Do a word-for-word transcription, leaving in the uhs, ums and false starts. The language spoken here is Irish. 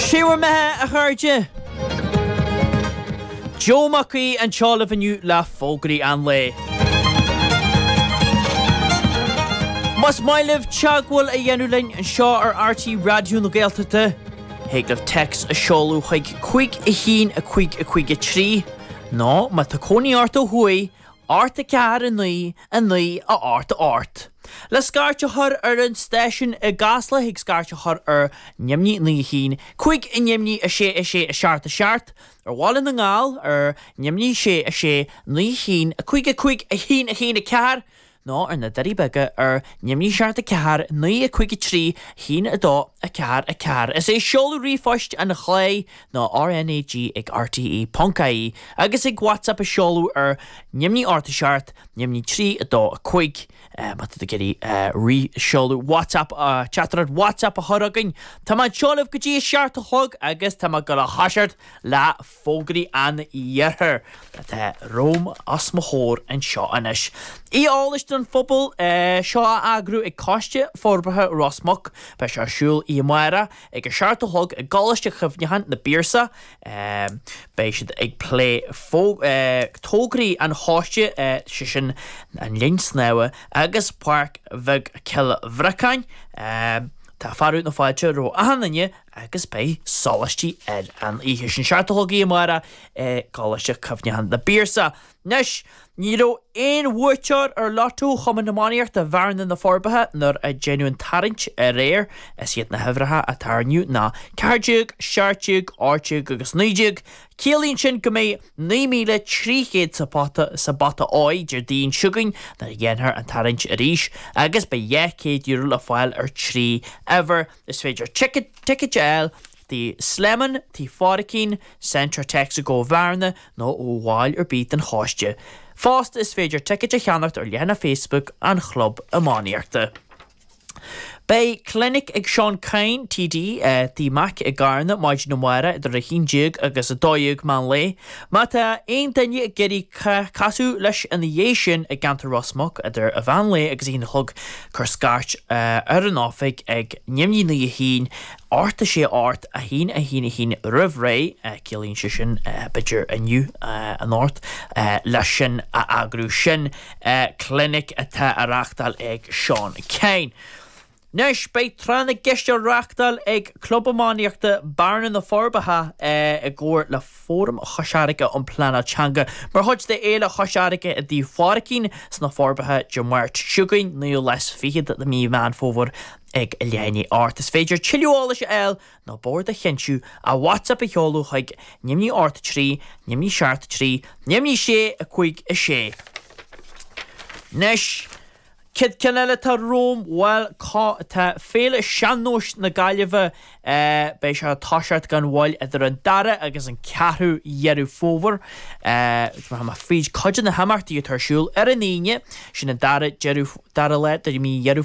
Sé bhur mbeatha a chairde. Joe Mac Aoidh anseo libh inniu le fógraí an lae. Más maith libh teagmháil a dhéanamh linn anseo ar RTÉ Raidió na Gaeltachta, thig libh téacs a seoladh chuig cúig a haon a cúig a cúig a trí, nó má tá cónaí ort ó thuaidh, ocht a ceathair a naoi a naoi a ocht a ocht. Le scairt a chur ar an stáisiún i gCasla thig scairt a chur ar neamhní naoi a haon, cúig a neamhní a sé a sé a seacht a seacht, ar Bhaile na nGall ar neamhní sé a sé naoi a haon, a cúig a cúig a haon a haon a ceathair, nó ar na Doirí Beaga ar neamhní seacht a ceathair naoi a cúig a trí a haon a dó a ceathair a ceathair. Is é seoladh ríomhphoist an chláir ná RNAG ag RTE ponc ie agus ag WhatsApp a seoladh ar neamhní ocht a seacht neamhní trí a dó a cúig. Má tá tú ag iarraidh seoladh WhatsApp teachtaireacht WhatsApp a chur chugainn. Tá mé anseo libh go dtí a seacht a chlog agus tá mé ag dul a thoiseacht le fógraí an iarthair atá romham os mo chomhair anseo anois. Oíche eolais don phobal seo á eagrú ag Coiste Forbartha Ros Muc. Beidh sé ar siúl oíche amárach ag a seacht a chlog i gColáiste Chuimhneacháin na bPiarsach. Beidh siad ag plé tograí an choiste, sé sin an linn snámha agus Páirc Bheag Chill Bhriocáin. Tá fearadh na fáilte roimh achan duine agus beidh sólaistí ar an oíche sin. Seacht a chlog oíche amárach i gColáiste Chuimhneacháin na bPiarsach. Anois, ní raibh aon bhuaiteoir ar Lotto Chumann Iománaíochta Bhearna na Forbacha nuair a deineadh an tarraingt aréir. Is iad na huimhreacha a tarraingíodh ná ceathair déag, seacht déag, ocht déag agus naoi déag. Ciallaíonn sin go mbeidh naoi míle trí chéad sa phota sa bpota óir Déardaoin seo chugainn nuair a dhéanfar an tarraingt arís agus beidh dhá chéad euro le fáil ar trí uimhir. Is féidir ticéid a fháil Tigh Slemon, Tigh Phádraicín, Centra Texaco Bhearna nó ó bhall ar bith den choiste. Fosta is féidir ticéid a cheannacht ar leathanach Facebook an Chlub Iománaíochta. Beidh clinic ag Seán Kyne TD, Tigh Mac i gCarna maidin amárach idir a haon déag agus a dó dhéag meán lae. Má tá aon duine ag iarraidh casadh leis ina dhiaidh sin i gceantar Ros Muc idir a mheán lae agus a haon a chlog, cuir scairt ar an oifig ag neamhní naoi a haon, ocht a sé ocht, a haon a haon a haon roimh ré, ciallaíonn sé sin b'fhéidir inniu anocht, leis sin a eagrú. Sin clinic atá á reáchtáil ag Seán Kyne. Anois, beidh Tráth na gCeist á reáchtáil ag Club Iománaíochta Bearna na Forbacha i gcomhar le Fóram Chois Fharraige um Pleanáil Teanga mar chuid de Fhéile Chois Fharraige i dTigh Phádraicín sna Forbacha Dé Máirt seo chugainn, naoú lá is fichead de mhí Mheán Fómhair ag leath i ndiaidh a hocht. Is féidir tuilleadh eolais a fháil nó bord a chinntiú ach WhatsApp a sheoladh chuig neamhní ocht trí, neamhní seacht trí, neamhní sé, a cúig a sé. Anois. Céad ceann eile atá romham, bhuel, cá, tá Féile Sean-Nóis na Gaillimhe, beidh sé ag toiseacht gan mhoill idir an dara agus an ceathrú Dheireadh Fómhair. Tá mé fríd cuid de na himeachtaí atá ar siúl ar an Aoine, sin an dara deireadh, dara lá de mhí Dheireadh